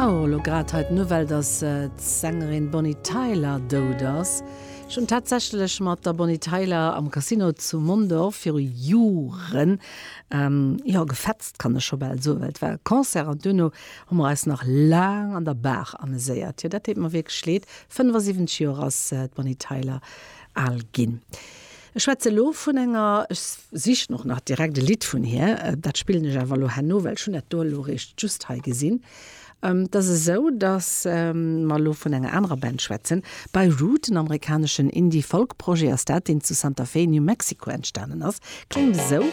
Oh, elo grad hei d'Nouvelle, dass d'Sängerin Bonnie Tyler dout ass. Ech hunn tatsächlech mat der Bonnie Tyler am Casino zu Mondorf viru Joren, jo, gefetzt, kann ech scho bal soen, well et war e Concert an duerno hu mer eis nach laang an der Bar ameséiert. Jo, dat deet mer wierklech leed. 75 Joer ass d'Bonnie Tyler al ginn. Ech schwätze elo vun enger, ech sichen och nach direkt e Lidd vun hir, dat spillen ech awer elo herno, well ech hunn dat do elo eréischt just hei gesinn. Et ass esou, datt mer elo vun enger anerer Band schwätzen, Beirut, en amerikaneschen Indie-Folk-Projet ass dat, deen zu Santa Fe, New Mexico entstanen ass. Kléngt esou.